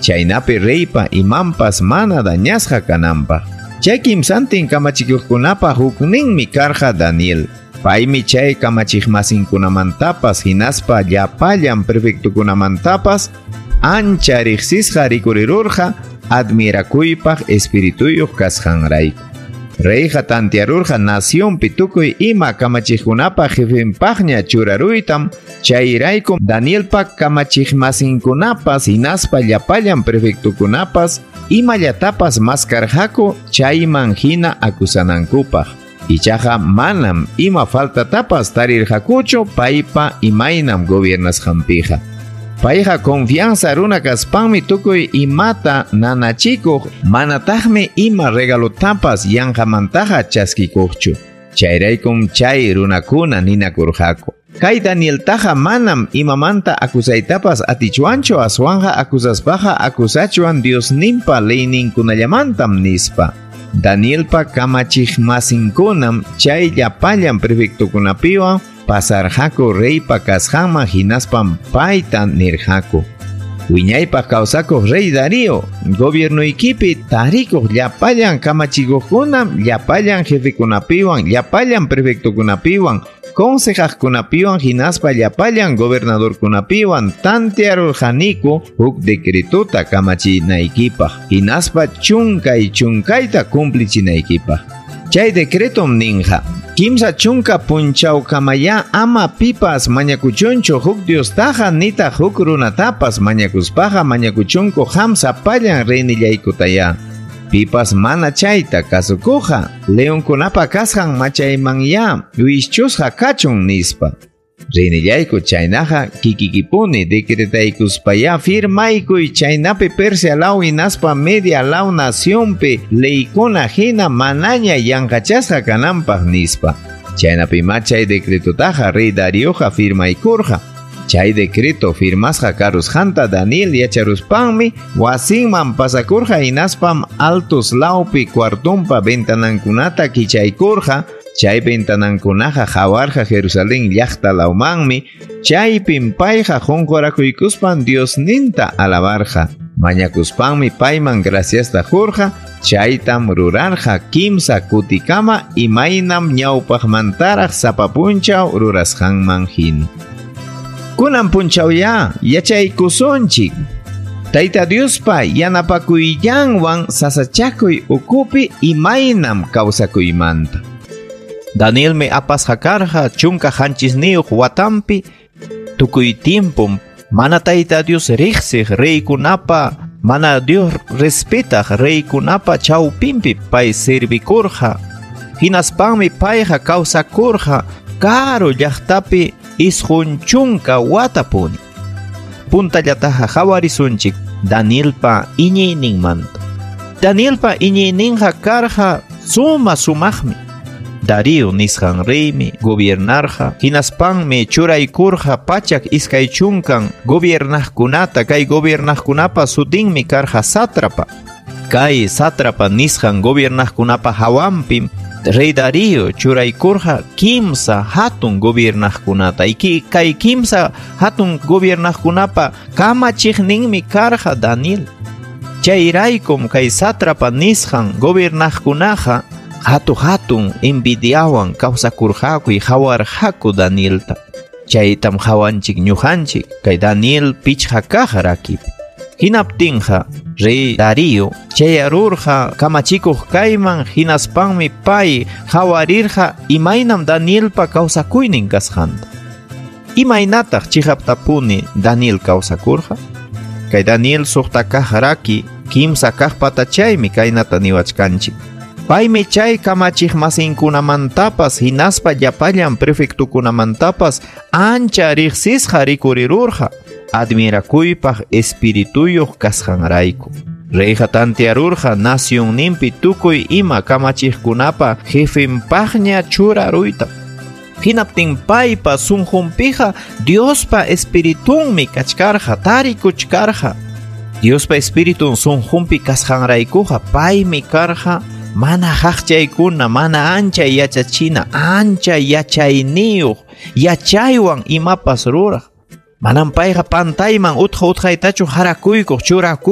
chaynapi reypa imanpas mana dañasqa kananpaq. Chay kimsantin kamachikuqkunapa hukninmi karqa Daniel. Paymi chay kamachiqmasinkunamantapas hinaspa llapallan prefectokunamantapas ancha riqsisqa rikurirurqa admirakuypaq espirituyuq kasqanrayku. Reyqa tantearurqa nacionpi tukuy ima kamachiqkunapa jefenpaqña churaruytam, chayrayku Danielpa kamachiqmasinkunapas hinaspa llapallan prefectokunapas imallatapas maskarqaku chayman hina acusanankupaq. Ichaqa manam ima faltatapas tarirqakuchu paypa imaynam gobiernasqanpiqa. Payqa confianza runa kaspanmi tukuy imata nanachikuq, manataqmi ima regalotapas yanqamantaqa chaskikuqchu. Chayraykum chay runakuna ninakurqaku. Kay Danieltaqa manam imamanta acusaytapas atichwanchu, aswanqa acusaspaqa acusachuan Diosninpa leyninkunallamantam nispa. Danielpa kamachiqmasinkunam chay llapallan prefectokunapiwan pasarqaku reypa kasqanman hinaspam payta nirqaku. Wiñaypaq kawsakuq rey Darío, gobiernoykipi tarikuq llapallan kamachikuqkunam, llapallan jefekunapiwan, llapallan prefectokunapiwan, consejaqkunapiwan hinaspa llapallan gobernadorkunapiwan tantearurqaniku huk decretota kamachinaykipaq, hinaspa chunkay chunkayta cumplichinaykipaq. Chay decretom ninqa: kimsa chunka punchawkamaya ama pipas mañakuchunchu huk Diostaqa nitaq huk runatapas mañakuspaqa mañakuchunku qam sapallan reynillaykutaya. Pipas mana chayta kasukuqa leonkunapa kasqan machaymanya wischusqa kachun nispa. Reynillayku chaynaqa kikikipuni decretaykuspaya firmaykuy chaynapi Persia law hinaspa Media law nacionpi leykuna hina manaña yanqachasqa kananpaq nispa. Chaynapima chay decretotaqa rey Darioqa firmaykurqa. Chay decreto firmasqa karusqanta Daniel yacharuspanmi wasinman pasakurqa hinaspam altos lawpi cuartonpa ventanankunata kichaykurqa. Chay ventanankunaqa hawarqa Jerusalén llaqta lawmanmi, chaypim payqa qunqurakuykuspan Diosninta alabarqa. Mañakuspanmi payman graciasta qurqa, chaytam rurarqa kimsa kutikama imaynam ñawpaqmantaraq sapa punchaw rurasqanman hina. Kunan punchawya yachaykusunchik. Tayta Diospa yanapakuyyanwan sasachakuy ukupi imaynam kawsakuymanta. Danielmi apasqa karqa chunka qanchisniyuq watampi, tukuy tiempom mana Tayta Dios riqsiq reykunapa, mana Dios respetaq reykunapa chawpinpi pay servikurqa. Hinaspanmi payqa kawsakurqa karu llaqtapi 90 watapuni. Puntallataqa qhawarisunchik Danielpa iñiyninmanta. Danielpa iñiyninqa karqa suma sumaqmi. Darío nisqan reymi gobiernarqa, hinaspanmi churaykurqa 120 gobiernaqkunata, kay gobiernaqkunapa sutinmi karqa sátrapa. Kay sátrapa nisqan gobiernaqkunapa hawanpim rey Darío churaykurqa kimsa hatun gobiernaqkunata. Y kay kimsa hatun gobiernaqkunapa kamachiqninmi karqa Daniel. Chayraykum kay sátrapa nisqan gobiernaqkunaqa hatu hatun envidiawan kawsakurqaku y hawarqaku Danielta. Chaytam hawanchik ñuqanchik kay Daniel pichqa kaq rakipi. Hinaptinqa rey Darío chayarurqa kamachikuq kayman, hinaspanmi pay hawarirqa imaynam Danielpa kawsakuynin kasqanta. Imaynataq chiqaptapuni Daniel kawsakurqa? Kay Daniel suqta kaq raki kimsa kaq patachaymi kaynata niwachkanchik. Paymi chay kamachiqmasinkunamantapas hinaspa llapallan prefectokunamantapas ancha riqsisqa rikurirurqa admirakuypaq espirituyuq kasqanrayku. Reyqa tantearurqa nacionninpi tukuy ima kamachiqkunapa jefenpaqña churaruyta. Hinaptin paypa sunqunpiqa Diospa espiritunmi kachkarqa, tarikuchkarqa. Diospa espiritun sunqunpi kasqanraykuqa paymi karqa mana haqchaykuna, mana ancha yachachina, ancha yachayniyuq, yachaywan imapas ruraq. Manam payqa pantayman utqa utqaytachu harakuykuq, churakuykuq.